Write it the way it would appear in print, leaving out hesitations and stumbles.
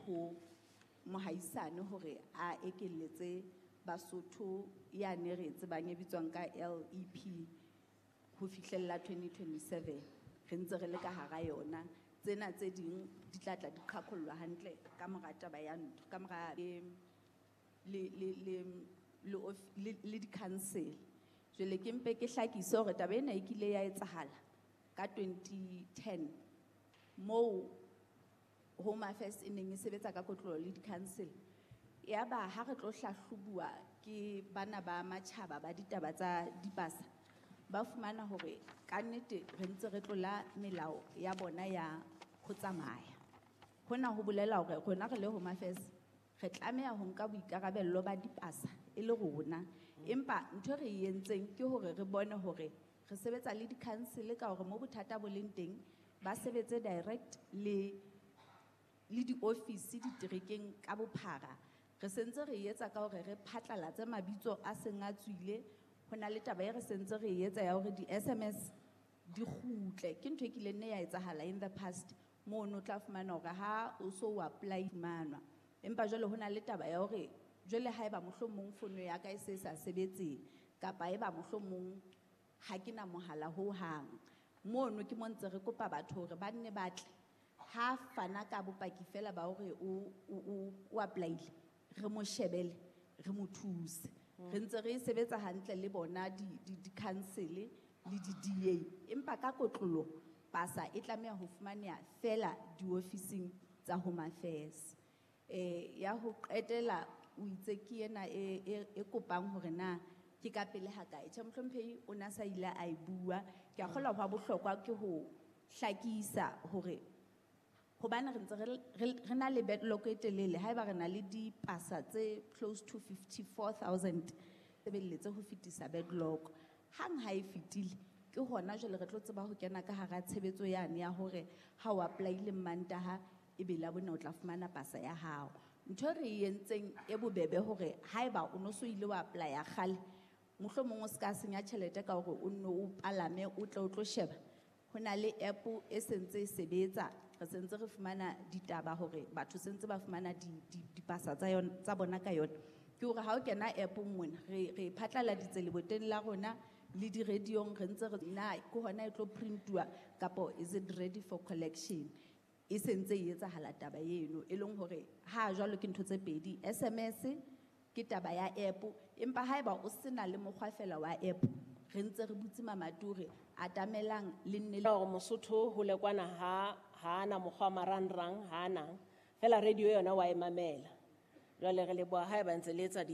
ho mohaisane hore a ekelletse Basotho yane re e tsebang e bitswang ka LEP ho fihlella 2027. Re ntse re le ka hara yona. Tsena tse ding di tla tla di qhaqhollwa hantle ka mora taba ya ntho, ka mora le di-council. Jwale ke mpe ke hlakise hore taba ena e kile ya etsahala ka 2010 moo Home Affairs e neng e sebetsa ka kotloloho le di-council. Yaba ha re tlo hlahlobuwa ke bana ba matjhaba ba ditaba tsa dipasa, ba fumana hore kannete re ntse re tlola melao ya bona ya ho tsamaya. Hona ho bolela hore rona re le Home Affairs re tlameha ho nka boikarabello ba dipasa e le rona. Empa ntho e re e entseng ke hore re bone hore re sebetsa le di-council ka hore mo bothata bo leng teng ba sebetse direct le di-office diterekeng ka bophara. Re sentse re etsa ka hore re phatlalatse mabitso a seng a tswile. Ho na le taba e re sentse re etsa ya hore di-SMS di kgutle. Ke ntho e kileng nne ya etsahala in the past mono o tla fumana hore ha o so o apply fumanwa. Empa jwale ho na le taba ya hore jwale haeba mohlomong fono ya ka e se sa sebetse kapa eba mohlomong ha ke na mohala hohang. Mono ke mo ntse re kopa batho hore ba nne ba tle. Ha fana ka bopaki fela ba hore o apply-ile, re mo shebele, re mo thuse. Re ntse re sebetsa hantle le bona di-council le di-DA. Empa ka kotloloho pasa e tlameha ho fumaneha fela diofising tsa Home Affairs. Ya ho qetela o itse ke ena e kopang hore na ke ka pele ha kae. Tjhe, mohlomphehi o na sa ile a e bua. Ke a kgolwa hwa bohlokwa ke ho hlakisa hore hobane re ntse re na le backlog e telele, haeba re na le dipasa tse close to 54,000 sebeletse ho fetisa backlog. Hang ha e fetile ke hona jwale re tlo tseba ho kena ka hara tshebetso yane ya hore ha o apply-ile Mantaha ebe Labone o tla fumana pasa ya hao. Ntho e re e entseng e bobebe hore haeba o no so ile wa apply-a kgale, mohlomong o ska senya tjhelete ka hore o nno o palame o tle o tlo sheba. Ho na le app e sentse e sebetsa, re sentse re fumana ditaba hore batho sentse ba fumana dipasa tsa yona, tsa bona ka yona. Ke hore ha o kena app-ong mona, re phatlaladitse leboteng la rona le di-radio-ong, re ntse re na ke hona e tlo print-uwa kapo is it ready for collection. E sentse e etsahala taba eno, e leng hore ha jwalo ke ntho tse pedi, SMS ke taba ya app, empa haeba o sena le mokgwa fela wa app, re ntse re butse mamati hore atamelang le nne le Hore Mosotho ho le kwana ha ana mokgwa marangrang, ha ana fela radio yona wa e mamela. Jwale re leboha haeba ntse le etsa di